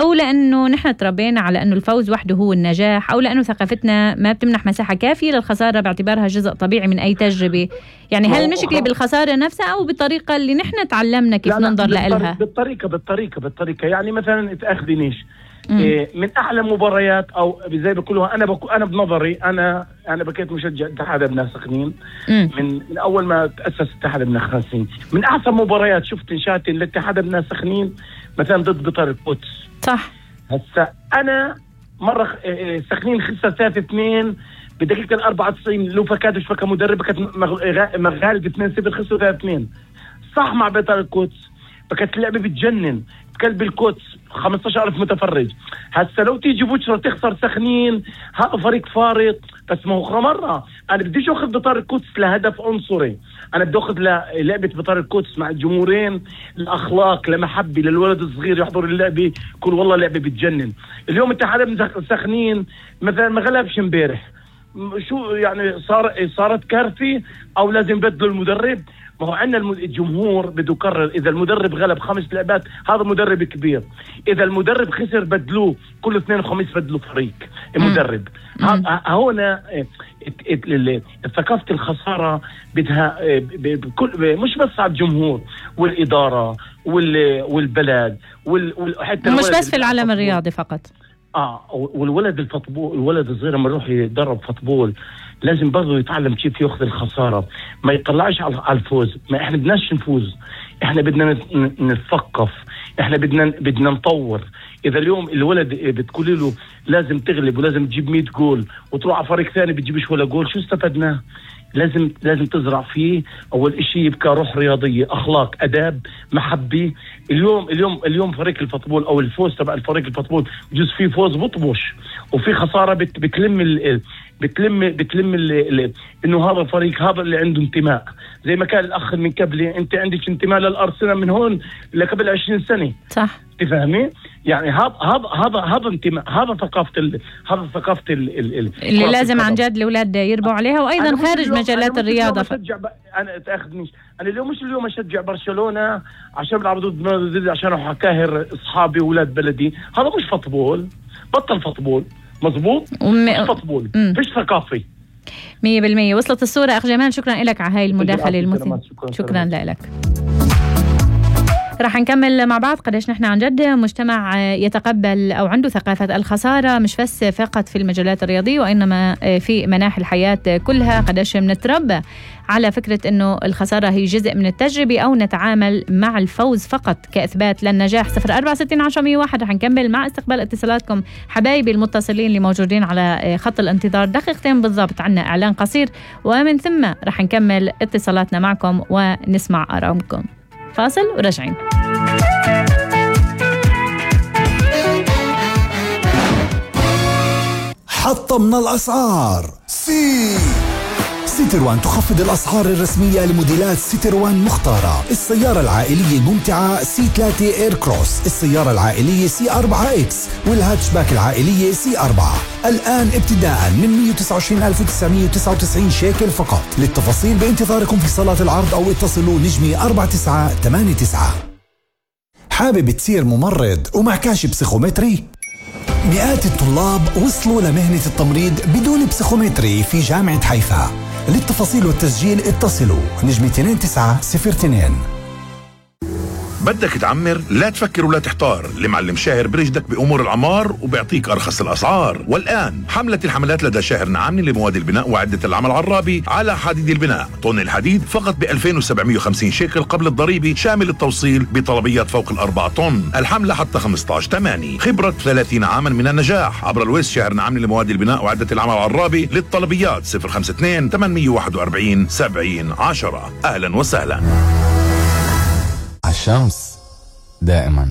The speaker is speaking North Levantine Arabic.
أو لأنه نحن تربينا على أنه الفوز وحده هو النجاح، أو لأنه ثقافتنا ما بتمنح مساحة كافية للخسارة باعتبارها جزء طبيعي من أي تجربة؟ يعني هل المشكلة بالخسارة نفسها أو بالطريقة اللي نحن تعلمنا كيف ننظر لها؟ بالطريقة يعني مثلا تأخذنيش من أحلى مباريات أو زي بقولوها أنا بنظري أنا بكيت مشجع اتحاد ابناء سخنين من أول ما تأسس اتحاد ابناء سخنين. من أحسن مباريات شفت انشاتي لاتحاد ابناء سخنين مثلا ضد بطار القدس. صح. هسا أنا مرة سخنين خسر 3-2 بدقيقة 94 لوفا كادوش فكا مدرب كانت مغالب 2-0 خسروا 3-2 صح مع بطار القدس. فكانت اللعبة بتجنن كلب القدس 15,000 متفرج. هسا لو تيجي بكره تخسر سخنين هذا فريق فارق. بس ما هو مرة انا بديش اخذ بطار القدس لهدف عنصري، انا بدي اخذ لعبة بطار القدس مع الجمهورين الاخلاق لمحبة للولد الصغير يحضر اللعبة يقول والله لعبة بتجنن. اليوم اتحاد سخنين مثلا ما غلبش امبارح شو يعني صارت كارثة او لازم بدلوا المدرب. ما هو عندنا الجمهور بده يقرر اذا المدرب غلب 5 لعبات هذا مدرب كبير، اذا المدرب خسر بدلوه كل 2 وخميس بدلوا فريق المدرب. هنا ثقافة الخسارة بدها مش بس على الجمهور والإدارة والبلد وحتى مش بس في العالم الرياضي فقط. والولد الولد الصغير لما يروح يدرب فوتبول لازم برضه يتعلم كيف ياخذ الخسارة، ما يطلعش على الفوز. ما احنا بدناش نفوز، احنا بدنا نتثقف، احنا بدنا نطور. اذا اليوم الولد بتقولي له لازم تغلب ولازم تجيب 100 جول وتروح على فريق ثاني بتجيبش ولا جول شو استفدناه؟ لازم تزرع فيه اول اشي يبقى روح رياضيه، اخلاق، اداب، محبه. اليوم فريق الفوتبول او الفوز تبع الفريق الفوتبول بجوز فيه فوز بطبش وفي خساره بتلم انه هذا الفريق هذا اللي عنده انتماء. زي ما كان الاخ من قبلي انت عندك انتماء للارسنال من هون لقبل 20 سنه. صح. تفهمي؟ يعني هذا انتماء، هذا ثقافه اللي لازم عن جد الاولاد يربوا عليها، وايضا خارج مجالات الرياضه. انا تاخذنيش انا اليوم اشجع برشلونه عشان بيلعبوا ضد عشان اروح اكاهر اصحابي واولاد بلدي. هذا مش فوتبول، بطل فوتبول. مزبوط. مش فوتبول، فيش ثقافه 100%. وصلت الصوره اخ جمال، شكرا لك على هاي المداخله المثيرة. شكرا لك. رح نكمل مع بعض قديش نحن عن جد مجتمع يتقبل أو عنده ثقافة الخسارة مش بس فقط في المجالات الرياضية وإنما في مناحي الحياة كلها. قديش منتربى على فكرة أنه الخسارة هي جزء من التجربة أو نتعامل مع الفوز فقط كإثبات للنجاح. 0460 رح نكمل مع استقبال اتصالاتكم حبايبي المتصلين اللي موجودين على خط الانتظار. دقيقتين بالضبط عنا إعلان قصير ومن ثم رح نكمل اتصالاتنا معكم ونسمع آرائكم. فاصل وراجعين. حطمنا الأسعار. سيتروان تخفض الأسعار الرسمية لموديلات سيتروان مختارة. السيارة العائلية الممتعة C3 إير كروس، السيارة العائلية C4X والهاتشباك العائلية C4 الآن ابتداء من 129,999 شيكل فقط. للتفاصيل بانتظاركم في صالات العرض أو اتصلوا نجمي 4989. حابب تصير ممرض ومعكاش بسيخومتري؟ مئات الطلاب وصلوا لمهنة التمريض بدون بسيخومتري في جامعة حيفا. للتفاصيل والتسجيل اتصلوا نجمي 2902. بدك تعمر؟ لا تفكر ولا تحتار، المعلم شاهر برشدك بأمور العمار وبيعطيك أرخص الأسعار. والآن حملة الحملات لدى شاهر نعامني لمواد البناء وعدة العمل عرابي على حديد البناء. طن الحديد فقط ب2750 شيكل قبل الضريبة شامل التوصيل بطلبيات فوق 4 طن. الحملة حتى 15/8. خبرة 30 عاما من النجاح. عبر الويس شاهر نعامني لمواد البناء وعدة العمل عرابي. للطلبيات 052 841 7010. أهلا وسهلا. الشمس دائما